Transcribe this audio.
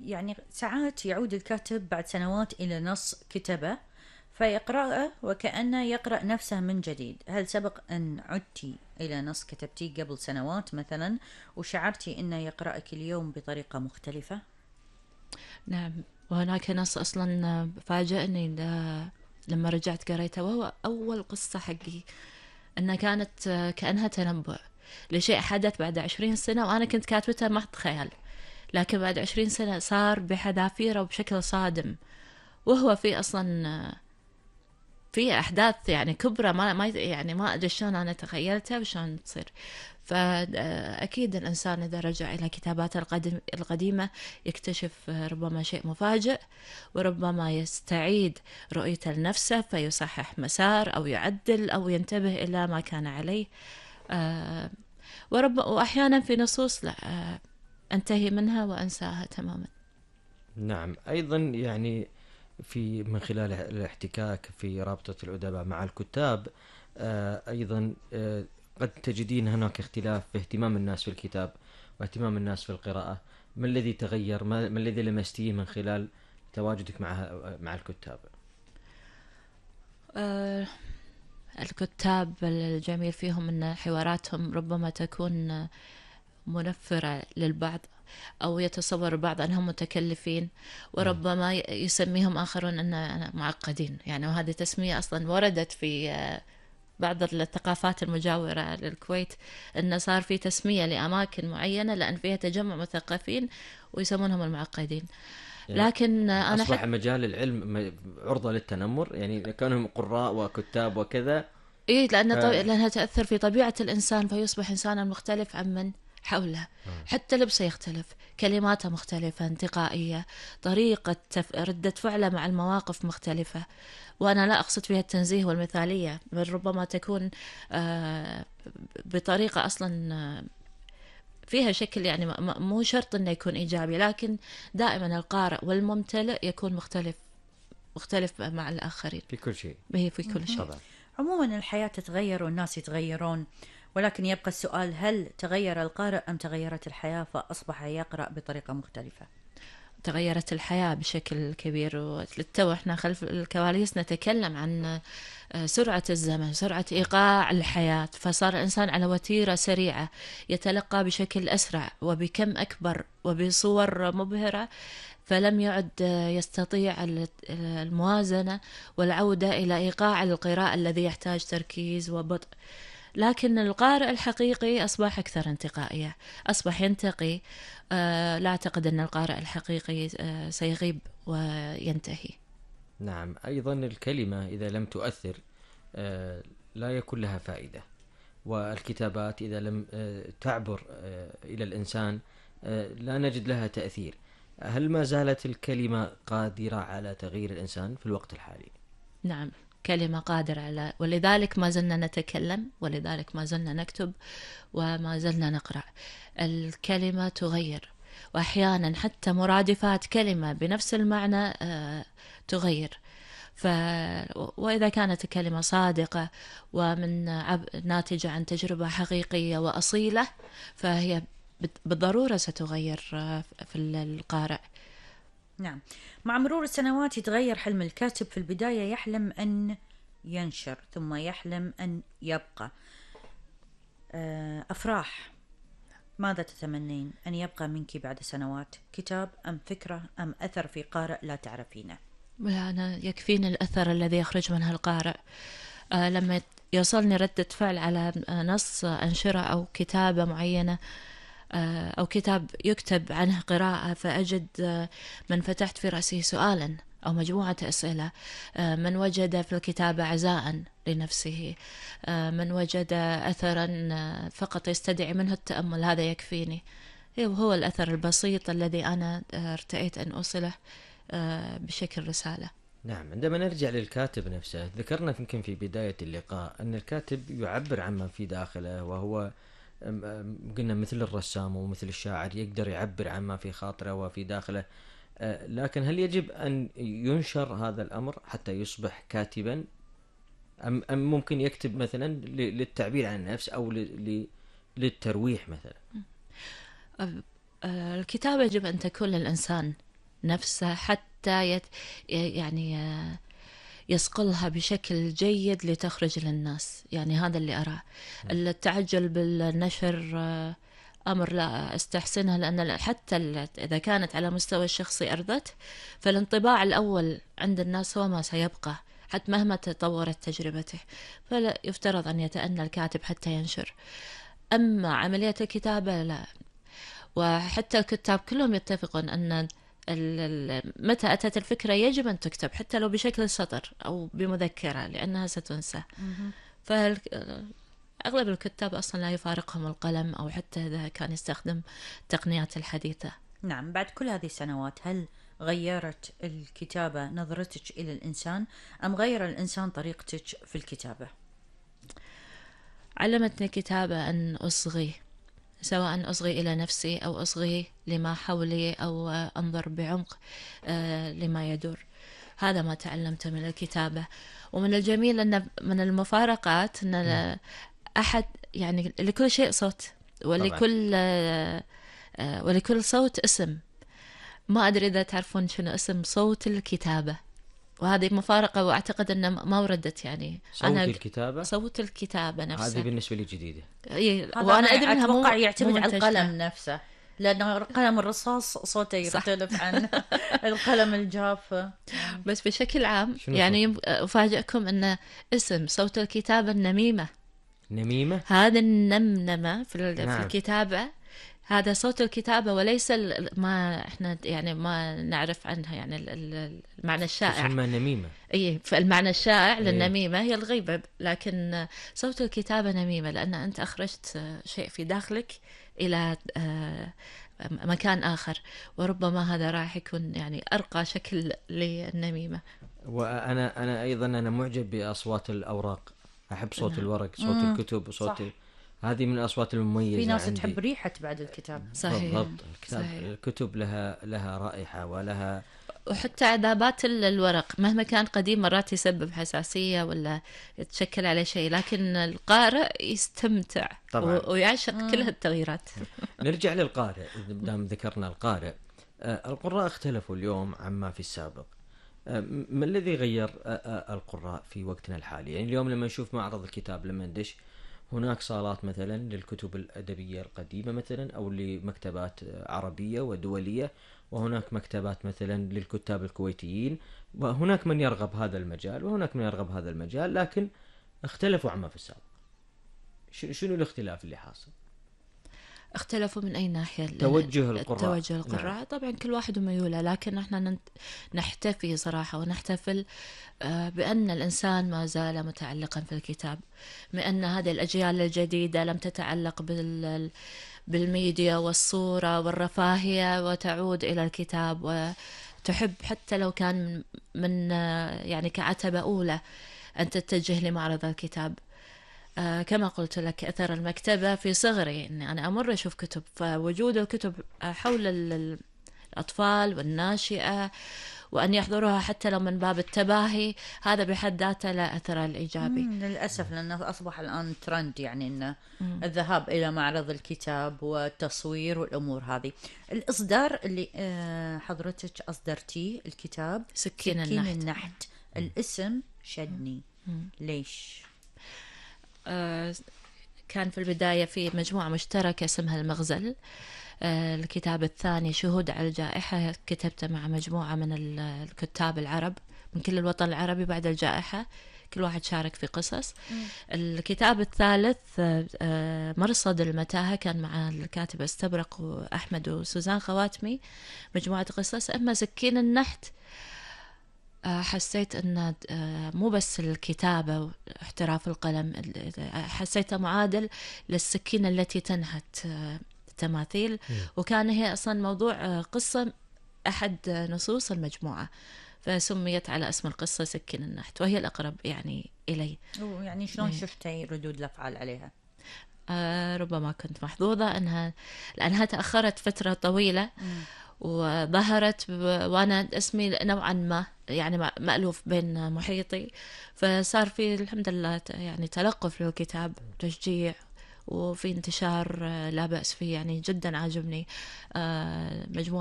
يعني ساعات يعود الكاتب بعد سنوات إلى نص كتبه فيقرأه وكأنه يقرأ نفسه من جديد. هل سبق أن عدتي إلى نص كتبتيه قبل سنوات مثلا وشعرتي أنه يقرأك اليوم بطريقة مختلفة؟ نعم، وهناك نص أصلا فاجأني لما رجعت قريته، وهو أول قصة حقي، أنها كانت كأنها تنبؤ لشيء حدث بعد 20 سنة، وأنا كنت كاتبتها محض خيال، لكن بعد 20 سنة صار بحذافيره وبشكل صادم، وهو في أصلا في أحداث يعني كبرى ما يعني ما أدري شلون أنا تخيلتها وشلون تصير. فأكيد الإنسان إذا رجع إلى كتاباته القديمة يكتشف ربما شيء مفاجئ، وربما يستعيد رؤيته لنفسه فيصحح مسار أو يعدل أو ينتبه إلى ما كان عليه. وأحيانا في نصوص لا أنتهي منها وأنساها تماما. نعم، أيضا يعني في من خلال الاحتكاك في رابطة الأدباء مع الكتاب أيضا قد تجدين هناك اختلاف في اهتمام الناس في الكتاب واهتمام الناس في القراءة. ما الذي تغير؟ ما الذي لمستيه من خلال تواجدك مع الكتاب؟ الكتاب الجميل فيهم أن حواراتهم ربما تكون منفرة للبعض، أو يتصور البعض أنهم متكلفين، وربما يسميهم آخرون أن معقدين يعني. وهذه تسمية أصلا وردت في بعض الثقافات المجاورة للكويت، أنه صار في تسمية لأماكن معينة لأن فيها تجمع مثقفين ويسمونهم المعقدين. يعني لكن أنا أصبح مجال العلم عرضة للتنمر، يعني كانوا قراء وكتاب وكذا. إيه، لأنها تأثر في طبيعة الإنسان فيصبح إنسانا مختلف عمن حوله. حتى لبسه يختلف، كلماته مختلفة، انتقائية، طريقة ردة فعله مع المواقف مختلفة. وأنا لا أقصد فيها التنزيه والمثالية، بل ربما تكون بطريقة أصلا فيها شكل، يعني مو شرط أنه يكون إيجابي، لكن دائما القارئ والممتلئ يكون مختلف مع الآخرين في كل شيء. في كل شيء. عموما الحياة تتغير والناس يتغيرون، ولكن يبقى السؤال: هل تغير القارئ أم تغيرت الحياة فأصبح يقرأ بطريقة مختلفة؟ تغيرت الحياة بشكل كبير، وللتو احنا خلف الكواليس نتكلم عن سرعة الزمن، سرعة إيقاع الحياة، فصار الإنسان على وتيرة سريعة يتلقى بشكل أسرع وبكم أكبر وبصور مبهرة، فلم يعد يستطيع الموازنة والعودة إلى إيقاع القراءة الذي يحتاج تركيز وبطء. لكن القارئ الحقيقي أصبح أكثر انتقائية، أصبح ينتقي. لا أعتقد أن القارئ الحقيقي سيغيب وينتهي. نعم، أيضا الكلمة إذا لم تؤثر لا يكون لها فائدة، والكتابات إذا لم تعبر إلى الإنسان لا نجد لها تأثير. هل ما زالت الكلمة قادرة على تغيير الإنسان في الوقت الحالي؟ نعم، كلمة قادرة على، ولذلك ما زلنا نتكلم، ولذلك ما زلنا نكتب، وما زلنا نقرأ. الكلمة تغير، وأحيانا حتى مرادفات كلمة بنفس المعنى تغير. وإذا كانت الكلمة صادقة ومن ناتجة عن تجربة حقيقية وأصيلة فهي بالضرورة ستغير في القارئ. نعم، مع مرور السنوات يتغير حلم الكاتب. في البداية يحلم أن ينشر، ثم يحلم أن يبقى. أفراح، ماذا تتمنين أن يبقى منك بعد سنوات؟ كتاب أم فكرة أم أثر في قارئ لا تعرفينه؟ لا، أنا يكفيني الأثر الذي يخرج منها القارئ. لما يوصلني ردة فعل على نص أنشرة أو كتابة معينة، أو كتاب يكتب عنه قراءة، فأجد من فتحت في رأسه سؤالا أو مجموعة أسئلة، من وجد في الكتابة عزاء لنفسه، من وجد أثرا فقط يستدعي منه التأمل، هذا يكفيني. هو الأثر البسيط الذي أنا ارتأيت أن أوصله بشكل رسالة. نعم، عندما نرجع للكاتب نفسه، ذكرنا يمكن في بداية اللقاء أن الكاتب يعبر عما في داخله، وهو قلنا مثل الرسام ومثل الشاعر يقدر يعبر عما في خاطره وفي داخله. لكن هل يجب أن ينشر هذا الأمر حتى يصبح كاتبا، أم ممكن يكتب مثلا للتعبير عن النفس أو للترويح مثلا؟ الكتابة يجب أن تكون للإنسان نفسه حتى يعني يصقلها بشكل جيد لتخرج للناس. يعني هذا اللي أراه. التعجل بالنشر أمر لا أستحسنه، لأن حتى إذا كانت على مستوى الشخصي أرضت، فالانطباع الأول عند الناس هو ما سيبقى حتى مهما تطورت تجربته. فلا يفترض أن يتأنى الكاتب حتى ينشر. أما عملية الكتابة لا. وحتى الكتاب كلهم يتفقون أن متى أتت الفكرة يجب أن تكتب، حتى لو بشكل سطر أو بمذكرة، لأنها ستنسى. فأغلب الكتاب أصلا لا يفارقهم القلم، أو حتى إذا كان يستخدم التقنيات الحديثة. نعم. بعد كل هذه السنوات، هل غيرت الكتابة نظرتك إلى الإنسان، أم غير الإنسان طريقتك في الكتابة؟ علمتني الكتابة أن أصغي، سواء أصغي إلى نفسي أو أصغي لما حولي، أو أنظر بعمق لما يدور. هذا ما تعلمته من الكتابة. ومن الجميل أن من المفارقات أن أحد يعني لكل شيء صوت، ولكل صوت اسم. ما أدري إذا تعرفون شنو اسم صوت الكتابة، وهذه مفارقة، وأعتقد أن ما وردت يعني. صوت الكتابة نفسها هذه بالنسبة لي جديدة. وأنا أدري أنها أتوقع يعتمد على القلم نفسه، لأن قلم الرصاص صوته يختلف عن القلم الجاف. بس بشكل عام يعني أفاجئكم أن اسم صوت الكتابة النميمة. نميمة؟ هذا النمنمة في الكتابة، هذا صوت الكتابة، وليس ما احنا يعني ما نعرف عنها يعني المعنى الشائع. تسمى نميمة. اي، فالمعنى الشائع للنميمة هي الغيبة، لكن صوت الكتابة نميمة، لأن أنت أخرجت شيء في داخلك إلى مكان آخر، وربما هذا راح يكون يعني أرقى شكل للنميمة. وأنا أيضا أنا معجب بأصوات الأوراق، أحب صوت الورق، صوت الكتب، صوت هذه من الأصوات المميزة. في ناس عندي تحب ريحة بعد الكتاب. صحيح. بالضبط. الكتب لها رائحة ولها، وحتى عذابات الورق مهما كان قديم مرات يسبب حساسية ولا يتشكل عليه شيء، لكن القارئ يستمتع ويعشق كل هالتغييرات. نرجع للقارئ، دام ذكرنا القارئ. القراء اختلفوا اليوم عما في السابق. ما الذي غير القراء في وقتنا الحالي؟ يعني اليوم لما نشوف معرض الكتاب، لما ندش هناك صالات مثلا للكتب الأدبية القديمة مثلا، أو لمكتبات عربية ودولية، وهناك مكتبات مثلا للكتاب الكويتيين، وهناك من يرغب هذا المجال وهناك من يرغب هذا المجال، لكن اختلفوا عما في السابق. شنو الاختلاف اللي حاصل؟ اختلفوا من أي ناحية؟ توجه القراء. نعم. طبعا كل واحد ميوله، لكن احنا نحتفي صراحة ونحتفل بأن الإنسان ما زال متعلقا في الكتاب، بأن هذه الأجيال الجديدة لم تتعلق بالميديا والصورة والرفاهية، وتعود إلى الكتاب، وتحب حتى لو كان من يعني كعتبة أولى أن تتجه لمعرض الكتاب. كما قلت لك، أثر المكتبة في صغري، إني أنا أمر أشوف كتب، فوجود الكتب حول الأطفال والناشئة، وأن يحضروها حتى لو من باب التباهي، هذا بحد ذاته له أثر الإيجابي. للأسف، لأنه أصبح الآن ترند، يعني إن الذهاب إلى معرض الكتاب والتصوير والأمور هذه. الإصدار اللي حضرتك أصدرتيه الكتاب سكين النحت، الاسم شدني. ليش؟ كان في البداية في مجموعة مشتركة اسمها المغزل. الكتاب الثاني شهود على الجائحة كتبته مع مجموعة من الكتاب العرب من كل الوطن العربي بعد الجائحة، كل واحد شارك في قصص. الكتاب الثالث مرصد المتاهة كان مع الكاتب استبرق وأحمد وسوزان خواتمي، مجموعة قصص. أما سكين النحت حسيت أن مو بس الكتابة واحتراف القلم، حسيتها معادل للسكينة التي تنحت التماثيل، وكان هي أصلا موضوع قصة أحد نصوص المجموعة، فسميت على اسم القصة سكين النحت، وهي الأقرب يعني إلي. يعني شلون شفتي ردود الأفعال عليها؟ ربما كنت محظوظة لأنها تأخرت فترة طويلة وظهرت وأنا اسمي نوعا ما يعني مألوف بين محيطي، فصار في الحمد لله يعني تلقف للكتاب، تشجيع، وفي انتشار لا بأس فيه، يعني جدا عاجبني. مجموعة